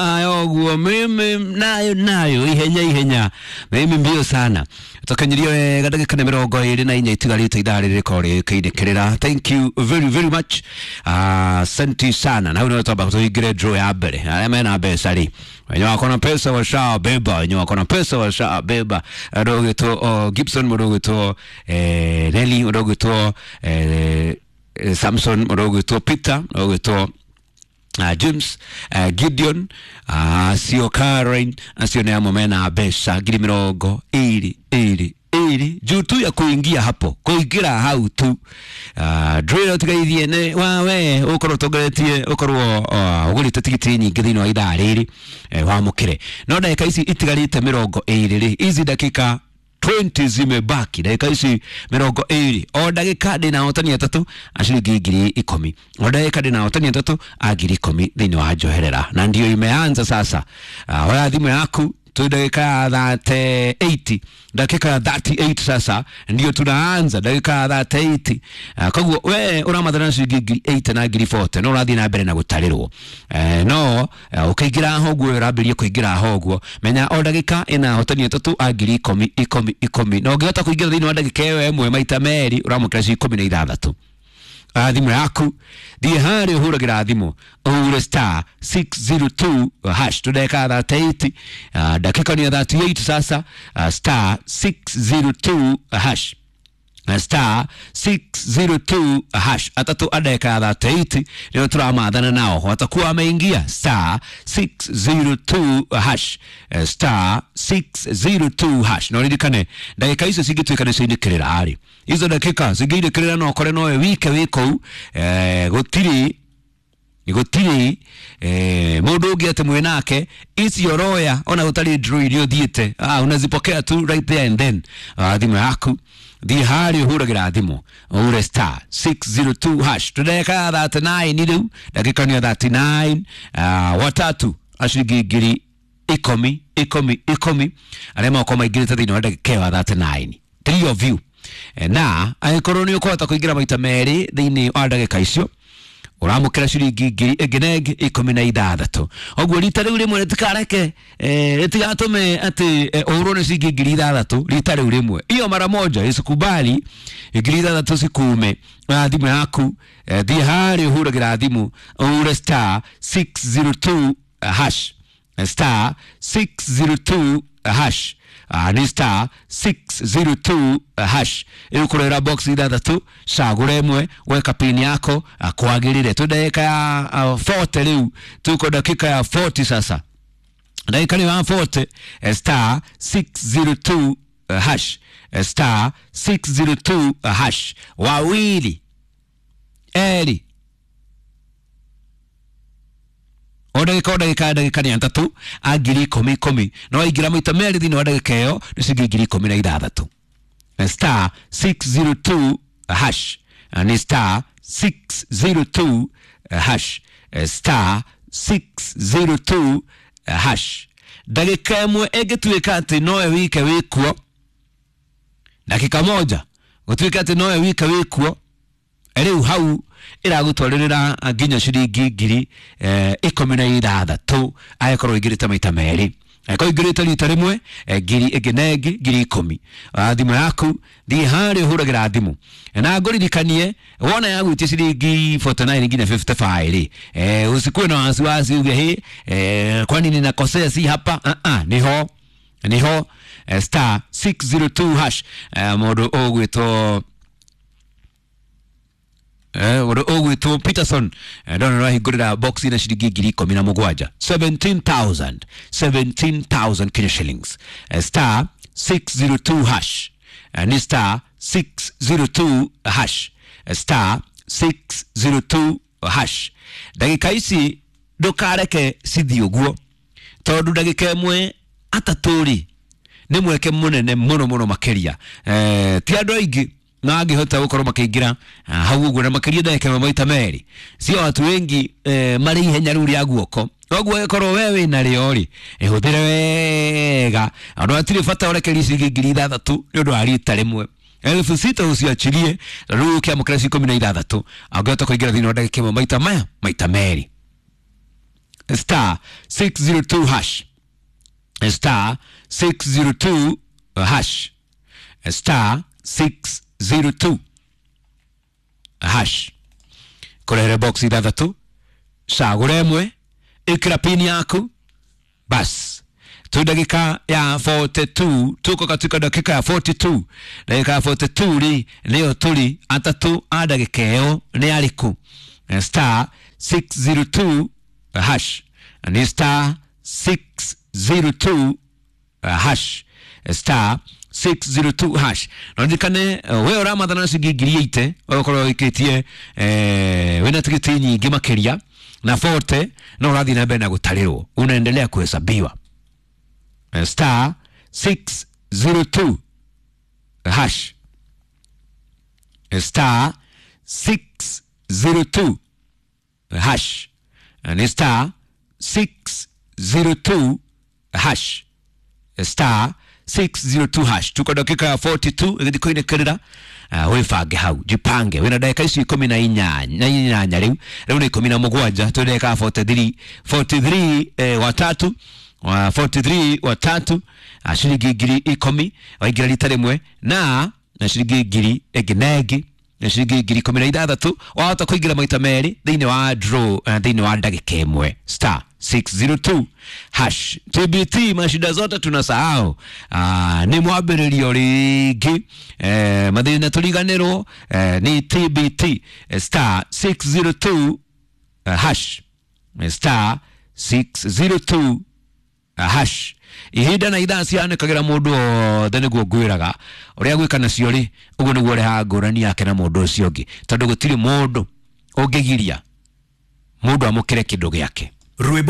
Oguo mimi nayo nayo ihenya ihenya mimi mbio sana tukinyirio wega ndagika nĩ 24 itigarĩte ithaa rĩrĩ rĩkorwo rĩkĩinĩkĩrĩra. Thank you very very much, asante sana. Na hau nĩho twamba tũingĩre draw ya mbere. Arĩa mena mbeca rĩ, wenye wako na pesa washabeba, wenye wako na pesa washabeba. Mũndũ ũgwĩtwo Gibson, mũndũ ũgwĩtwo Nelly, mũndũ ũgwĩtwo Samson, mũndũ ũgwĩtwo Peter, mũndũ ũgwĩtwo James, Gideon, acio Karen, acio nĩ amwe mena mbeca 22,000 juu tu ya kuingia hapo, kuingira hau tu. Drill tigaithie nĩ wawe ũkorwo ũtongoretie, ũkorwo ũgũrĩte tigiti nyingĩ thĩinĩ wa ithaa rĩrĩ, wamũkĩre. No ndagĩka ici itigarĩte 20 rĩ, ici ndagĩka 20 zimebaki, ndagĩka ici 20, o ndagĩka ndĩna ahotani atatũ a ciringi 10,000, o ndagĩka ndĩna ahotani atatũ a 10,000 thĩinĩ wa njoherera, na ndio imeanza sasa. Oya thimũ yaku tu dakika ya 38, dakika ya 38 sasa ndio tunaanza dakika ya 38. Koguo we uramathana ciringi 8,000 na 40,000 no ũrathiĩ na mbere na gũtarĩrwo. No ũkĩingĩra ho ũguo ũrambĩrĩria kũingĩra ho ũguo, menya o ndagĩka ĩna ahotani atatũ a 10,000 10,000 10,000, na ũngĩhota kũingĩra thĩinĩ wa ndagĩka ĩyo ĩmwe maita merĩ ũramũkĩra ciringi 16. Thimũ yaku thiĩ harĩa ũhũragĩra thimũ ũhure star 602 hash. Tũndeka 38, dakika ni ya 38 sasa. Star 602 hash, star 602 hash, atatũ a ndagĩka ya 38 nĩo tũramathana nao watakuwa wameingia star 602 hash, star 602 hash. Na ũririkane ndagĩka icio cingĩtuĩka nĩ ciainĩkĩrĩra rĩ, izo ndagĩka cingĩinĩkĩrĩra no ũkore nowe wike wĩ kũu, gũtirĩ gũtirĩ mũndũ ũngĩ atĩ mwĩ nake icio roya ona gũtarĩ draw iria ũthiĩte, unazipokea tu right there and then. Thimũ yaku thiĩ harĩa ũhũragĩra thimũ ũhure star 602 hash. Tũndagĩka ya 39 rĩu, ndagĩka nĩ ya 39. Watatu a ciringi 10,000 10,000 10,000 arĩa magokorwo maingĩrĩte thĩinĩ wa ndagĩka ĩyo ya 39, three of you. Na angĩkorwo nĩ ũkũhota kũingĩra maita merĩ thĩinĩ wa ndagĩka icio ũramũkĩra ciringi 16,000. Ũguo rita rĩu rĩmwe rĩtikareke, rĩtigatũme atĩ ũhũrwo nĩ ciringi 6,000 rita rĩu rĩmwe, iyo mara moja isikubali 6,000 cikume. Thimũ yaku thiĩ harĩa ũhũragĩra thimũ ũhure star 602 hash, star 602 hash, nĩ star 602 hash. Ĩgũkũrehera box ithathatũ, cagũra ĩmwe, weka pin yako kwagĩrĩre. Twĩ ndagĩka ya 40 rĩu, tuko dakika ya 40 sasa, ndagĩka nĩ ya 40. Star 602 hash, star 602 hash, wawili eri o ndagĩka o ndagĩka ndagĩka nĩ atatũ a 10,000 10,000, no waingĩra maita merĩ thĩinĩ wa ndagĩka ĩyo nĩ ciringi 16,000. Star 602 hash, nĩ star 602 hash, star 602 hash. Ndagĩka ĩmwe ĩngĩtuĩka atĩ nowe wike wĩkuo, dakika moja gũtuĩka atĩ nowe wike wĩkuo, rĩu hau ĩragũtwarĩrĩra nginya ciringi 16,000 angĩkorwo ũingĩrĩte maita merĩ. Angĩkorwo ũingĩrĩte rita rĩmwe, ngiri ĩngĩ na ĩngĩ 10,000. Thimũ yaku thiĩ harĩa ũhũragĩra thimũ, na ngũririkanie wona yagwĩtia ciringi 49 nginya 55 rĩ, usikuwe na wasiwasi uge hĩ, kwani ninakosea si hapa. Niho niho, star 602 hash. Mũndũ ũgwĩtwo ũndũ ũgwĩtwo Peterson, ndona nĩwahingũrĩra box na ciringi 17,000, 17,000, 17,000 Kenya shillings. Star 602 hash, nĩ star 602 hash, star 602 hash. Ndagĩka ici ndũkareke cithiĩ ũguo, tondũ ndagĩka ĩmwe atatũ rĩ nĩ mweke mũnene mũno mũno makĩria. Ti andũ aingĩ na angĩhota gũkorwo makĩingĩra hau ũguo, na makĩria ndagĩka ĩmwe maita merĩ, sio watu wengi marĩ ihenya rĩu rĩa guoko. Koguo angĩkorwo we wĩna rĩo rĩ, ĩhũthĩre wega, andũ hatirĩ bata ũrekerie ciringi 6,000 nĩ ũndũ wa rita rĩmwe. 6,000 usiachilie, rĩu ũkĩamũkĩra ciringi 16 angĩhota kũingĩra thĩinĩ wa ndagĩka ĩmwe maita maya maita merĩ. Star 602 hash, star 602 hash, star 602 hash. Kũrehere box ithathatũ, cagũra ĩmwe, ĩkĩra pini yaku, bas tu dakika ya 42, tuko katika dakika ya 42. Dakika ya 42 ri nĩyo tũri, atatũ a ndagĩka ĩyo nĩ arĩkũ? Star 602 hash, nĩ star 602 hash, star 602 hash. Na ririkane we ũramathana na ciringi 80,000, ũgakorwo wĩkĩtie wĩna tigiti nyingĩ makĩria na 40, no ũrathiĩ na mbere na gũtarĩrwo, unaendelea kuhesabiwa. Star 602 hash, star 602 hash, ni star 602 hash, star 602 hash. Tuko dakika ya 42 ĩgĩthiĩ kũinĩkĩrĩra. Wĩbange hau, jipange, wĩna ndagĩka icio 18 rĩu rĩu nĩ 17, twĩ ndagĩka ya 43 43, watatu wa 43 watatu, ciringi 10,000 waingĩra rita rĩmwe, na ciringi ngiri ĩngĩ na ĩngĩ na ciringi 16,000 wahota kũingĩra maita merĩ thĩinĩ wa draw, thĩinĩ wa ndagĩka ĩmwe. Star 602 hash. TBT, mashida zote tunasahau. Nĩ mwambĩrĩrio rĩngĩ, mathĩna tũriganĩrwo, nĩ TBT. Star 602 hash, star 602 hash. Ihinda na ithaa cianĩkagĩra mũndũ wothe, nĩguo ngwĩraga ũrĩa gwĩka nacio rĩ, ũguo nĩguo ũrehaga ngũrani yake na mũndũ ũcio ũngĩ, tondũ gũtirĩ mũndũ ũngĩgiria mũndũ amũkĩre kĩndũ gĩake. Rwĩmbo.